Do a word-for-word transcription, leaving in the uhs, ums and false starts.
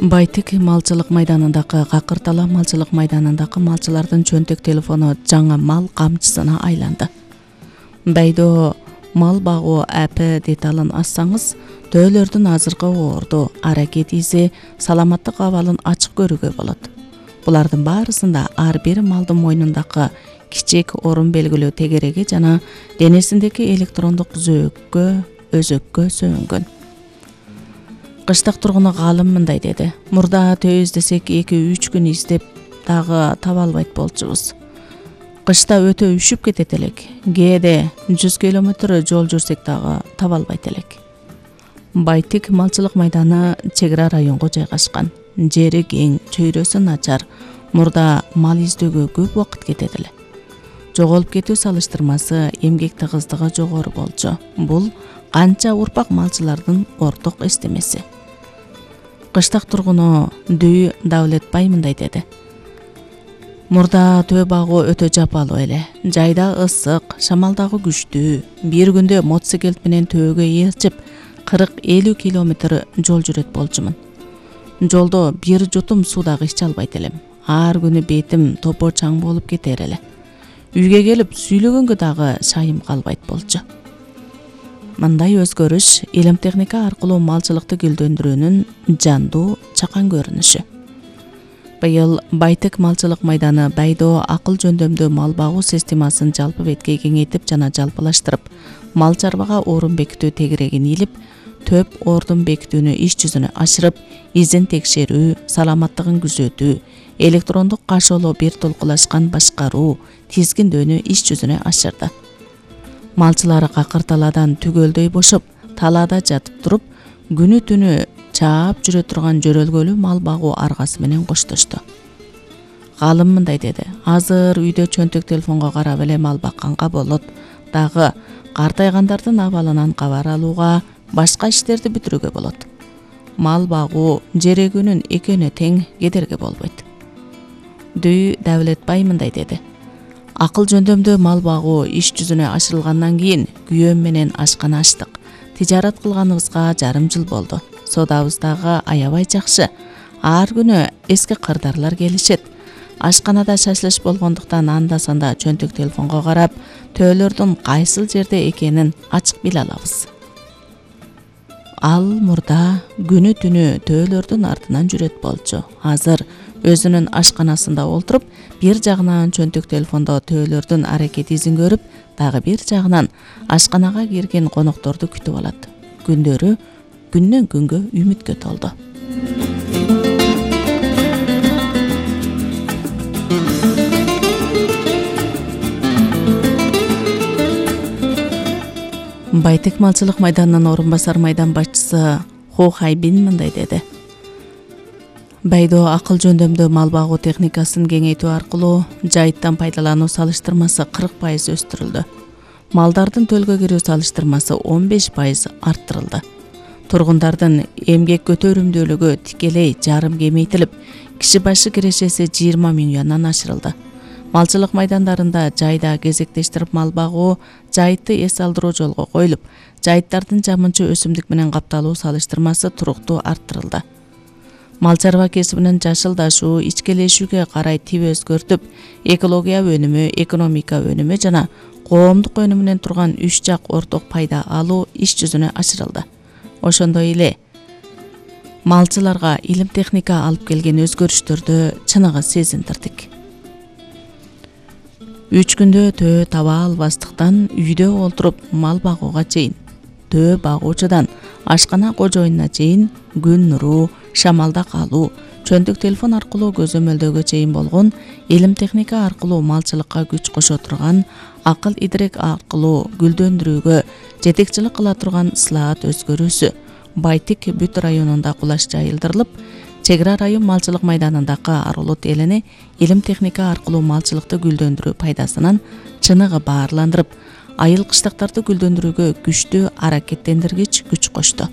Байтик малчылык майданындагы Какыртала малчылык майданындагы малчылардын чөнтөк телефону жаңа мал камчысына айланды. Байдоо мал багуу апп деталын ассаңыз, төөлөрдүн азыркы орду, аракет изи, саламаттык абалын ачык көрүүгө болот. Булардын баарысында ар бир малдын мойнундагы кичик орун белгилөө тегереги жана денесиндеги электрондук зөөккө, өзөккө сөөнгөн. Кыштак тургуну Галым мындай деди: Мурда төө издесек эки үч күн издеп дагы таба албайт болчубуз. Кышта өтө үшүп кетет элек. Кээде жүз километр жол жүрсек дагы таба албайт элек. Байтик малчылык майданы чек ара районго жайгашкан. Жери кең, чөйрөсү начар. Мурда мал издөөгө көп убакыт кетет эле. Жоголуп кетүү салыштырмасы, эмгек тыгыздыгы жогору болчу. Бул канча урпак малчылардын орток эстемеси. Кыштак тургуну Дүй Давлетбай мындай деди: Мурда төө багуу өтө жапалуу эле. Жайда ысык, шамал дагы күчтүү. Бир күндө мотоциклет менен төөгө ээрчип кырк элүү километр жол жүрөт болчумун. Жолдо бир жутум суу дагы иче албайт элем. Ар күнү бетим топо чаң болуп кетер эле. Үйгө келип сүйлөгөнгө дагы шайым калбайт болчу. Мындай өзгөрүш илим техника аркылуу малчылыкты гүлдөндүрүүнүн жандуу чакан көрүнүшү. Быйыл Байтик малчылык майданы Байдоо акыл жөндөмдүү мал багуу системасын жалпы бетке кеңейтип жана жалпылаштырып, мал чарбага орун бекитүү тегерегин илип, төп ордун бекитүүнү иш жүзүнө ашырып, изин текшерүү, саламаттыгын күзөтүү, электрондук кашоолоо бир толкулашкан башкаруу, тизгиндөөнү иш жүзүнө ашырды. Малчылары Какырталадан түгөлдөй бошоп, талаада жатып туруп, күнү түнү чаап жүрө турган жөрөлгөлүү мал багуу аргасы менен коштошту. Галым мындай деди: Азыр үйдө чөнтөк телефонго карап эле мал бакканга болот, дагы картайгандардын абалынан кабар алууга, башка иштерди бүтүрүүгө болот. Мал багуу жери күнүн экөөнө тең кедерге болбойт. Дүй Давлетбай мындай деди: Акыл жөндөмдүү мал багуу иш жүзүнө ашырылгандан кийин күйөөм менен ашкана ачтык. Тижарат кылганыбызга жарым жыл болду. Содабыз дагы аябай жакшы. Ар күнү эски кырдарлар келишет. Ашканада шашлыш болгондуктан анда-санда чөнтөк телефонго карап, төөлөрдүн кайсыл жерде экенин ачык биле алабыз. Ал мурда күнү түнү төөлөрдүн артынан жүрөт болчу. Азыр өзүнүн ашканасында олтуруп, бир жагынан чөнтөк телефондо төөлөрдүн аракет изин көрүп, дагы бир жагынан ашканага кирген конокторду күтүп алат. Күндөрү күндөн күнгө үмүткө толду. Байтик малчылык майданынын орун басар майдан башчысы Хо Хайбин мындай деди: Байдоо акыл жөндөмдүү мал багуу техникасын кеңейтүү аркылуу жайыттан пайдалануу салыштырмасы кырк пайыз өстүрүлдү. Малдардын төлгө кирүү салыштырмасы он беш пайыз арттырылды. Тургундардын эмгек көтөрүмдүүлүгү тикелей жарым кемейтилип, киши башы кирешеси жыйырма миң юандан ашырылды. Малчылык майдандарында жайда кезектештирип мал багуу, жайытты эс алдыруу жолго коюлуп, жайыттардын жамынчы өсүмдүк менен капталуу салыштырмасы туруктуу арттырылды. Мал чарба кесибинин жашылдашуу, ичкелешүүгө карай тип өзгөртүп, экология өнүмү, экономика өнүмү жана коомдук өнүмүнөн турган үч жак орток пайда алуу иш жүзүнө ашырылды. Ошондой эле малчыларга илим техника алып келген өзгөрүштөрдү чыныгы сезиндирдик. Үч күндө төө таба албастыктан үйдө олтуруп мал багууга чейин, төө багуучудан ашкана кожоюнуна чейин күн нуру, шамалда калуу, чөнтөк телефон аркылуу көзөмөлдөөгө чейин болгон илим техника аркылуу малчылыкка күч кошо турган, акыл идрек аркылуу гүлдөндүрүүгө жетекчилик кыла турган ысылаат өзгөрүүсү Байтик бүт районунда кулаш жайылдырылып, чек ара район малчылык майданындагы Арулут элине илим техника аркылуу малчылыкты гүлдөндүрүү пайдасынан чыныгы баарландырып, айыл кыштактарды гүлдөндүрүүгө күчтүү аракеттендиргич күч кошту.